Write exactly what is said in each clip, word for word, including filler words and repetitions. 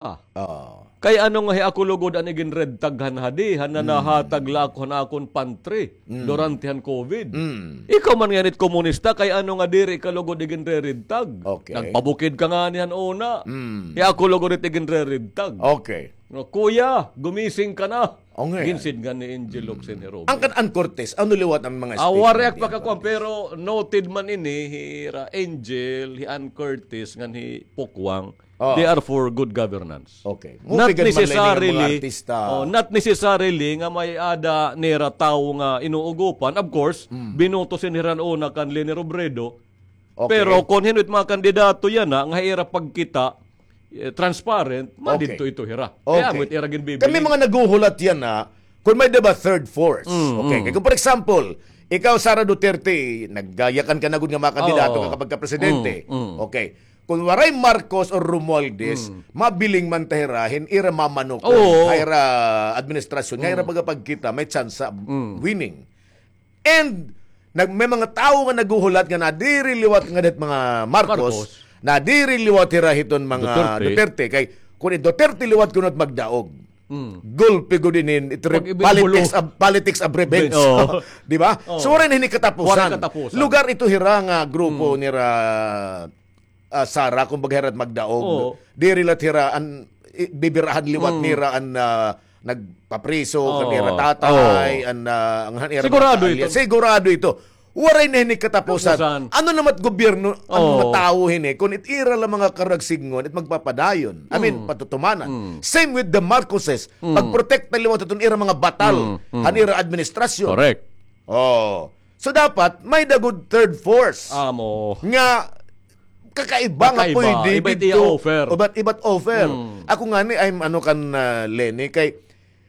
Ah. Kay ano nga hi ako lugod an igin-red tag han hadi, han nanahatag la ako han akon pantry durante han COVID. Ikaw man ngay-an it komunista, kay ano nga diri ka lugod igin-re-red tag? Okay. Nagpabukid ka ngani han una. Hi ako lugod it igin-re-red tag. Okay. Nga, "Kuya, gumising ka na." Ginsidngan ni Angel Locsin hi Robin. An kan Ann Curtis, ano liwat an mga speech? Waray ak pakakuan, pero noted man ini, hira Angel, hi Ann Curtis, ngan hi Pokwang. They are for good governance. Okay. Not necessarily, oh, not necessarily nga may-ada nira tawo nga inuugopan. Of course, binoto sin hira han una kan Leni Robredo. Okay. Pero kon hin-o it mga kandidato yana nga ha ira pagkita, eh, transparent, madidto ito hira. Kay amo it ira ginbibiling. Kami mga naghuhulat yana, kon may-ada ba third force. Okay. Kay kon, for example, ikaw, Sara Duterte, nagyakan ka na gud nga mga kandidato ka kapag ka presidente. Okay. Kon waray Marcos or Romualdez, mabiling man ta hira hin ira mamanukon ha ira administrasyon, ha ira pagkapagkita, may tsansa winning. And nag-, may mga tawo nga naghuhulat nga nadiri liwat ngada hit mga Marcos, nadiri liwat hira hiton mga Duterte. Kay kon it Duterte liwat kuno it magdaog, gulpi gud ini, it re-, politics of, politics of revenge. Di ba? So, waray na hini katapusan. Lugar ito hira nga grupo nira, ah, Sara, kumbaga, hira it magdaog. Diri la it hira an, i-, bibirahan liwat nira an, ah, nagpapriso kan ira tatay, an, ah, an ira mga kaalya. Sigurado ito. Waray na hini katapusan. Ano naman it gobyerno, an mga tawo hini, kon it ira la mga karagsidngon, it magpapadayon. I mean, patutumanan. Same with the Marcoses. Pagprotekta liwat iton ira mga batal han ira administrasyon. Correct. Oh. So, dapat may-ada gud third force. Amo. Nga kakaiba nga pwede iba it didto, offer. Iba't, iba't offer. Ako ngani, I'm ano kan, ah, Leni, kay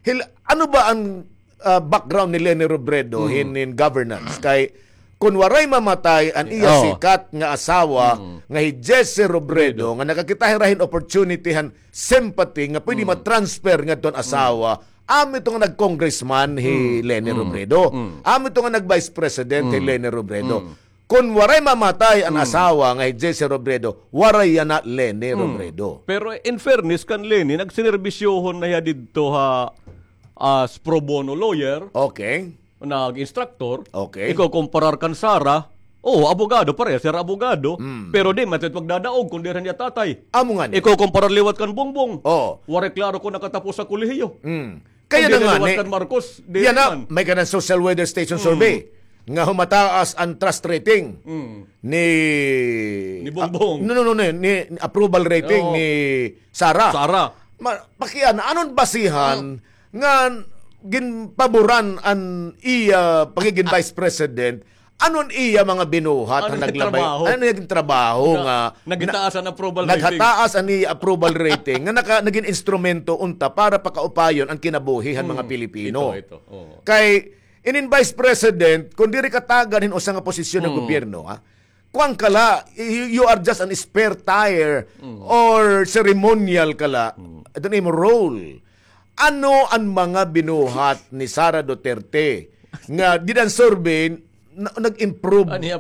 hil-, ano ba an, ah, background ni Leni Robredo hin, hin governance? Kay kon waray mamatay an iya sikat nga asawa nga hi Jesse Robredo, nga nakakita hira hin opportunity han sympathy nga pwede ma-transfer ngadto han asawa, amo ito nga nag-congressman hi Leni Robredo. Amo ito nga nag-vice president hi Leni Robredo. Kon waray mamatay an asawa nga hi Jesse Robredo, waray yana Leni Robredo. Pero in fairness kan Leni, nagsinerbisyohon na hiya didto ha, as pro bono lawyer. Okay. Nag-instructor. Okay. Ikokomparar kan Sara, oo, abogado, parehas hira abogado. Pero di man ito magdadaog kon diri han iya tatay. Amo ngani. Ikokomparar liwat kan Bongbong. Oo. Waray klaro kon nakatapos ha kolehiyo. Kay yana ngani, kan Marcos, di yana, may kanan social weather station survey nga humataas an trust rating ni, ni Bongbong. Ah, no, no, no, ni, ni approval rating ni Sara. Sara. Ma-, pakiana, ano an basihan nga ginpaboran an iya pagigin vice president Ano an iya mga binuhat han naglabay? Ano an iya gintrabaho nga naghataas an approval rating? Naghataas an iya approval rating nga naka-, nagin instrumento unta para pakaupayon an kinabuhi han mga Pilipino. Kay inin vice president, kon diri ka tagad hin usa nga posisyon han gobyerno, ha? Kuan ka la, you, you are just an spare tire or ceremonial ka la. Ito na imo role. Ano an mga binuhat ni Sara Duterte nga dida han survey, na-, nag-improve an iya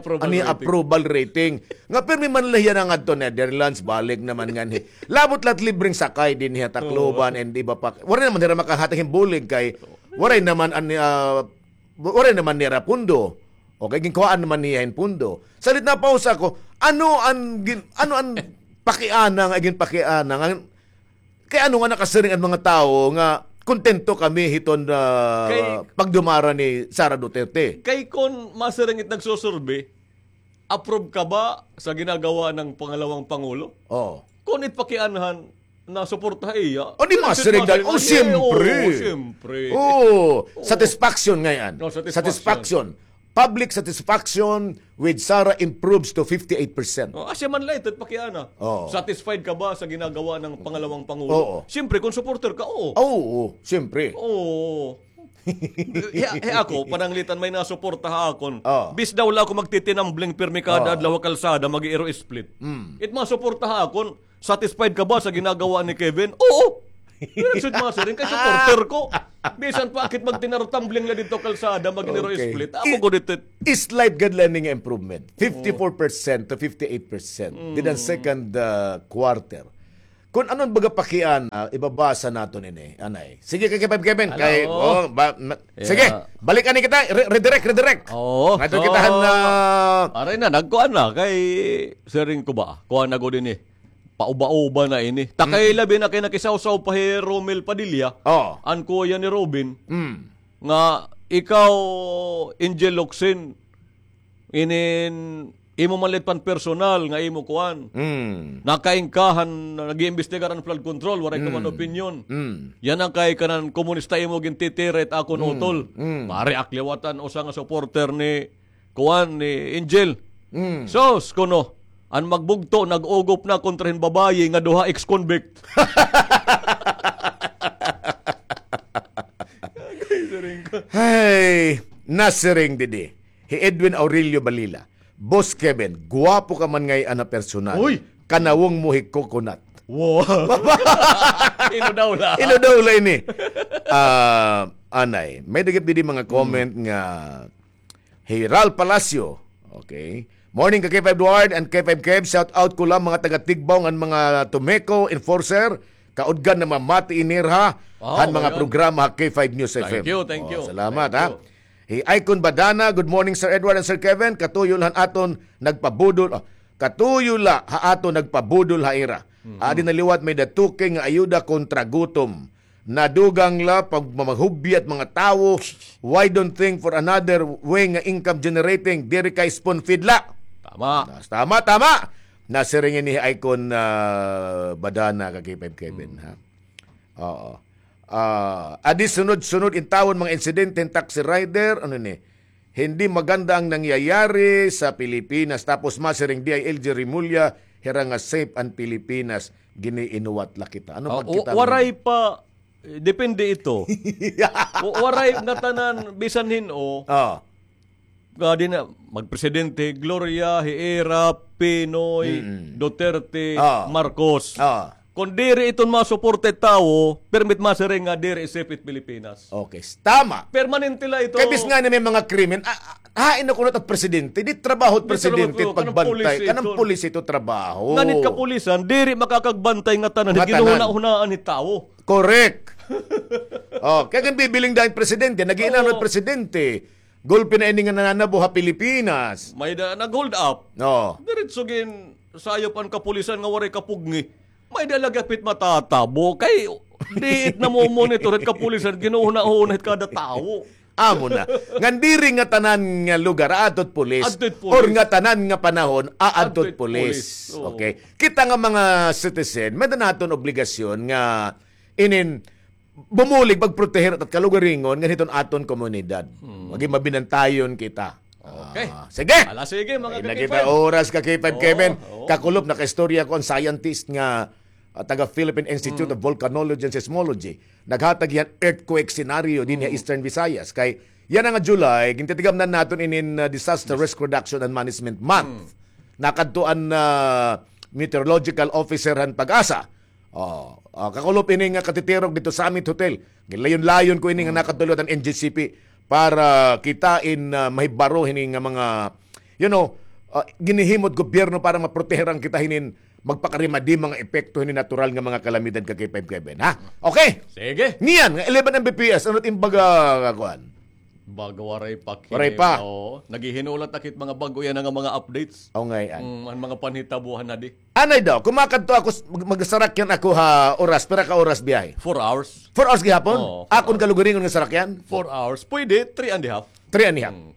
approval rating. Nga pirmi man la hiya na ngadto Netherlands, balik naman nganhi. Labot la it libreng sakay dinhi ha Tacloban and iba pa. Waray naman hira makahatag hin bulig kay waray naman an, ah, waray naman nira pundo. Okay, ginkuhaan naman niya hin pundo. Salit na pausa ko, ano an gin-, ano an pakiana nga ginpakiana nga Kay ano nga nakasiring an mga tawo nga kontento kami hiton, ah, pagdumara ni Sara Duterte? Kay kon masiring it nagsusurvey, approve ka ba sa ginagawa ng pangalawang pangulo? Oo. Kon it pakianhan na suporta iya, o di masiring dahil, o, siyempre. Oo, siyempre. Oo, satisfaction ngay-an. Satisfaction. Public satisfaction with Sara improves to fifty-eight percent. Oh, asya man la ito, pakiana. Oo. Satisfied ka ba sa ginagawa ng pangalawang pangulo? Oo. Siyempre, kung supporter ka, oo. Oo, oo, siyempre. Oo. He, he ako, pananglitan may nasuporta ha akon. Oo. Bis daw la ako magtitinambling pirmi kada adlaw ha kalsada, mag-iiro split. It masuporta ha akon, Satisfied ka ba sa ginagawa ni Kevin? Oo! Yan, sud masiring kay supporter ko. Bisan pa akit magtinarotambling la didto kalsada, mag-iniro split. Amo ko didto. Slight gad la ini nga improvement. Fifty-four percent to fifty-eight percent. Dida han second, ah, quarter. Kun ano an baga pakiana, ah, ibabasa naton ini, anay. Sige, kay Kevin, Kevin, kay, oh, ba, ma-, sige, balik ani kita, re-, redirect, redirect. Oo, ngadto kita han, ah, aray na, nagkuan na, kay siring ko ba, kuan na gud ini. Pauba-uba na ini. Ta kay labi na kay nakisawsaw pa hi Romel Padilla, an kuya ni Robin, nga ikaw, Angel Locsin, inin imo man la it pan personal nga imo kuan. Nakaingkahan, nag-iimbestigar an flood control, waray ka man opinyon. Yana kay kanan komunista imo gintitira it akon utol. Pare, ak liwat an usa nga supporter ni kuan ni Angel. Sus, kuno, an magbugto, nag-ugop na kontra hin babayi nga duha ex-convict. Hay, nasiring didi hi Edwin Aurelio Balila, "Boss Kevin, gwapo ka man ngay-an ha personal. Uy! Kanawong mo hi coconut." Wow. Ino daw la? Ino daw la ini? Ah, anay, may dagit didi mga comment nga hi Ral Palacio. Okay. Morning ka K five Duard and K five Kev. Shout out ko la mga taga Tigbao ngan mga Tomeco enforcer. Kaudgan na mamati ini ha han mga programa ha K five News F M. Thank you, thank you. Salamat, ha. Hi Icon Badana, "Good morning, Sir Edward and Sir Kevin. Katuyo la han aton nagpabudol, ah, katuyo la ha aton nagpabudol ha ira. Adi na liwat may-ada two K nga ayuda kontra gutom. Nadugang la pagmamahubya it mga tawo. Why don't think for another way nga income generating? Diri kay spoon feed la." Tama. Tama, tama. Nasiring ini hi Icon, ah, Badana ka K five Kevin, ha. Oo. Ah, adi sunod-sunod intawon mga insidente hin taxi rider, ano ni? Hindi maganda ang nangyayari sa Pilipinas. Tapos masiring D I L G Remulla, hira nga safe an Pilipinas, giniinuwat la kita. Ano pagkita mo? Waray pa, eh, depende ito. Wa-, waray ngatanan, bisan hin-o. Ah. Gadi na, magpresidente, Gloria, Hera, Pinoy, Duterte, Marcos. Kon diri iton masuporta it tawo, permit masiring nga diri safe it Pilipinas. Okay, tama. Permanente la ito. Kay bisan ngani may mga krimen, ah, ah, hain na kuno it presidente, di trabaho it presidente pagbantay. Kanang pulis ito trabaho. Ngan it kapulisan, diri makakagbantay ngatanan, ginuhuna-hunaan it tawo. Correct. Oh, kay kan bibiling dayon presidente, nag-iinano it presidente. Gulpi na ini nga nananabo ha Pilipinas. May-ada nag-hold up. Oo. Diretso ginsayop an kapulisan nga waray kapugngi. May-ada la gihap it matatabo. Kay diit namomonitor it kapulisan, ginuhuna-huna it kada tawo. Amo na. Ngan diri ngatanan nga lugar, aadto it pulis. Aadto it pulis. Or ngatanan nga panahon, aadto it pulis. Aadto it pulis. Oo. Okay. Kita nga mga citizen, may-ada naton obligasyon nga inin bumulig pagproteher it kalugaringon ngan hiton aton komunidad. Hmm. Magin mabinantayon kita. Okay. Ah, sige. Ala, sige, mga ka-K five. Ay, nakita oras ka-K five, Kevin. Oo, oo. Kakulop, nakaistorya ko an scientist nga, ah, taga Philippine Institute of Volcanology and Seismology. Naghatag hiya hin earthquake scenario dinhi ha Eastern Visayas. Kay yana nga July, gintitigamnan naton inin, ah, Disaster Risk Reduction and Management Month. Hmm. Nakadto an, ah, meteorological officer han PAGASA. Oh, ah, kakulop ini nga katitirok didto sa Summit Hotel. Ginlayon-layon ko ini nga nakadto liwat an N G C P para kita in, ah, mahibaro hini nga mga, you know, ah, ginhihimo it gobyerno para maproteheran kita hinin magpakarimadi mga epekto hini natural nga mga kalamidad ka-K five Kevin, ha? Okay. Sige. Niyan, nga eleven M B P S, ano it im baga, kuan? Baga waray pa. Waray pa. Oo. Naghihinulat ak hit mga bag-o yana nga mga updates. O, ngay-an. Mm, an mga panhitabo han adi. Anay daw, kon makadto ako, mag-, magsarakyan ako ha oras, pira ka oras biyahe? Four hours. Four hours gihapon? Oo, four hours. Akon kalugaringon nga sarakyan? Four hours. Pwede, three and a half. Three and a half. Hmm.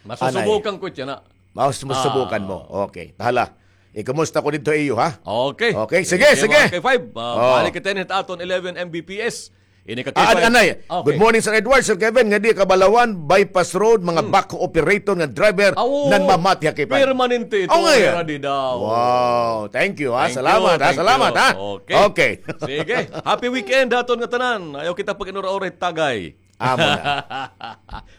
Anay. Masusubukan ko it yana. Mas-, masubukan mo. Ah. Okay. Hala. Ikumusta ko didto iyo, ha? Okay. Okay, sige, sige. Mga K five, ah, balik kita ini hit aton eleven M B P S. Ini ka K five. Ah, anay. Okay. Good morning, Sir Edward, Sir Kevin, ngadi ha Cabalawan, bypass road, mga backhoe operator nga driver, nanmamati ha K five. Permanente ito, ready daw. Wow, thank you, ha. Salamat, ha. Salamat, ha. Okay. Okay. Sige. Happy weekend ha aton ngatanan. Ayaw kita pag-inura-ura hit tagay. Amo na.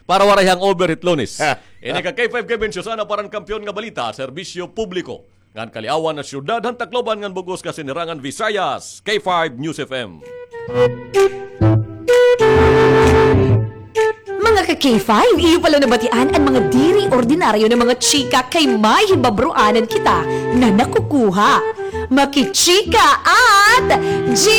Para waray hangover hit Lunes. Ini ka K five Kevin, Susana para han Kampiyon nga Balita, Serbisyo Publiko ngan Kaliawan han Syudad han Tacloban ngan bug-os nga Sinirangan Visayas, K five News F M. Mga ka-K five, iyo pa la nabatian an mga diri ordinaryo nga mga chika kay may hibabroanan kita nga nakukuha. Makichika at G